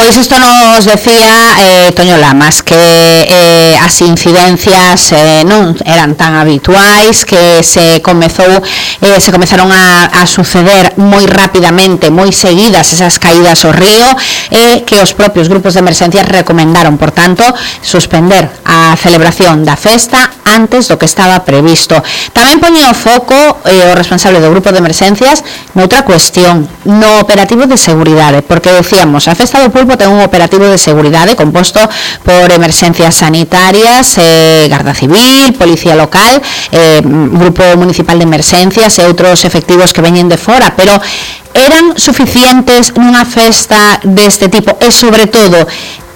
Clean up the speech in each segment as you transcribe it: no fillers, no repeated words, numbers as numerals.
Pois isto nos decía Toño Lamas, que as incidencias non eran tan habituais, que se comezaron a suceder moi rapidamente, moi seguidas esas caídas ao río, que os propios grupos de emergencias recomendaron, por tanto, suspender a celebración da festa antes do que estaba previsto. Tamén poñía o foco o responsable do grupo de emergencias noutra cuestión, no operativo de seguridade, porque decíamos, a festa do Pulpo ten un operativo de seguridade composto por emerxencias sanitarias, Garda Civil, Policía Local, Grupo Municipal de Emerxencias e outros efectivos que veñen de fora, pero eran suficientes nunha festa deste tipo e, sobre todo,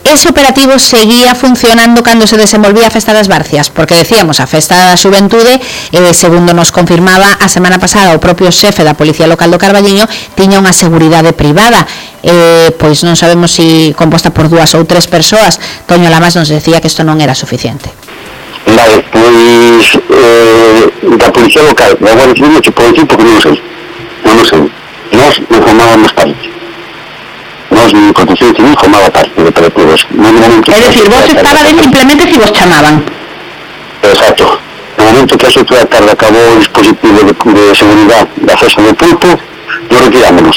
ese operativo seguía funcionando cando se desenvolvía a Festa das Barcias, porque decíamos, a Festa da Xuventude, segundo nos confirmaba a semana pasada o propio xefe da Policía Local do Carballiño, tiña unha seguridade privada, pois non sabemos se composta por 2 ou 3 persoas. Toño Lamas nos decía que isto non era suficiente. Vale, pois da Policía Local, da Guardia Civil, que pode dicir porque non sei. Nós non formábamos parte. Nós, ni Protección Civil, formaba parte de operativos. É dicir, vos estabades simplemente se vos chamaban. Exacto. No momento que a 8 da tarde acabou o dispositivo de seguridade da festa do Pulpo, nos retirámonos.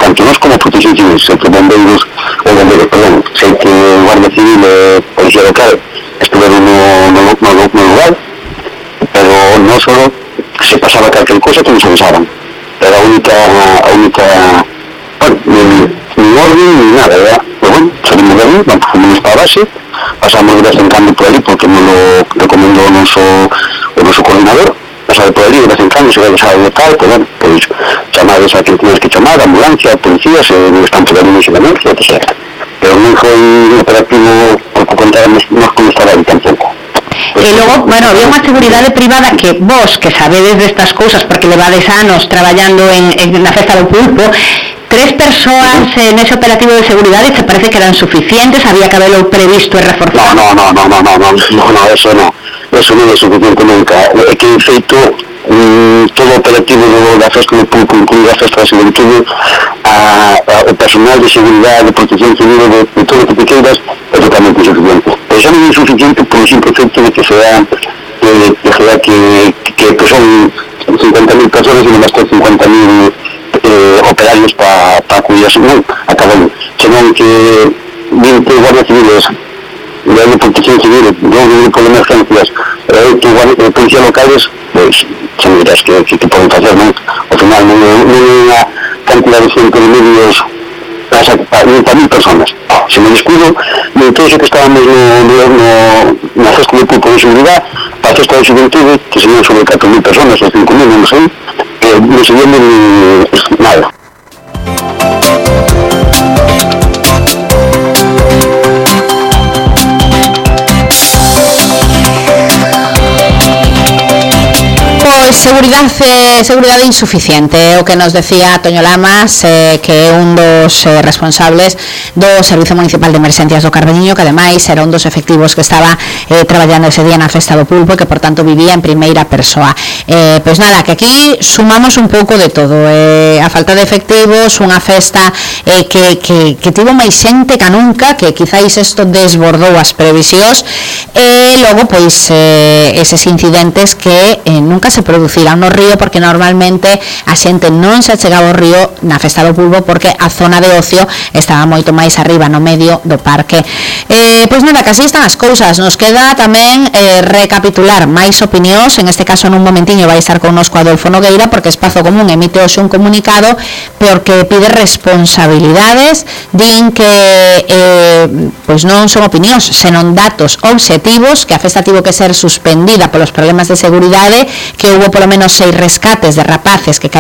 Tanto nós como Protección Civil, sempre bombeiros, sei que Guardia Civil e Policía Local estiveron no lugar, pero non só se pasaba calquer cosa que nos avisaban. Era a única ni orden ni nada, ¿verdad? Pero bueno, salimos de allí, fuimos para a base, pasamos de vez en cando por allí porque nos lo recomendou o noso coordinador, pasar por allí de vez en cando, se vai a de tal, pues bueno, pues chamadas a que tienes que chamar, ambulancia, policías, están por allí de emergencia, etc. Pero non foi un operativo porque contáramos nos como estaba aí tampouco. E logo, bueno, había unha seguridade privada que vos, que sabedes destas cousas porque levades anos traballando na Festa do Pulpo, 3 persoas nese operativo de seguridade te parece que eran suficientes, había que haberlo previsto e reforzado? No, eso non é suficiente nunca. É que, en feito, todo o operativo da Festa do Pulpo, incluída a Festa da Xuventude, o personal de seguridade, de Protección Civil, de todo o que te queiras, é totalmente insuficiente. Pero xa non é insuficiente por o simple feito de que son 50.000 personas e non bastan 50.000 operarios para cuidar, non, acaban, senón que 20 guardias civiles, de Protección Civil, 2 grupos de emergencias, 8 policías locales, pois, xa me dirás que poden facer, non? Ao final non é unha cantidad de centro de medios para 10.000 personas. Se me descuido, de todo eso que estábamos na festa de Pulpo de seguridade, para a festa de Xuventude, que serían sobre 4.000 personas ou 5.000, non sei, non se viendo nada. Seguridade insuficiente, o que nos decía Toño Lamas, que é un dos responsables do Servizo Municipal de Emerxencias do Carballiño, que ademais era un dos efectivos que estaba traballando ese día na Festa do Pulpo e que, por tanto, vivía en primeira persoa. Pois nada, que aquí sumamos un pouco de todo, a falta de efectivos, unha festa que tivo máis xente que nunca, que quizáis isto desbordou as previsións, e logo, pois, eses incidentes que nunca se producirán no río, porque normalmente a xente non se chegaba ao río na Festa do Pulpo porque a zona de ocio estaba moito máis arriba, no medio do parque. Pois nada, que así están as cousas. Nos queda tamén recapitular máis opinións, en este caso nun momentiño vai estar connosco Adolfo Nogueira, porque Espazo Común emite hoxe un comunicado porque pide responsabilidades, din que pois non son opinións, senón datos obxectivos, que a festa tivo que ser suspendida polos problemas de seguridade, que houbo polo menos 6 rescates de rapaces que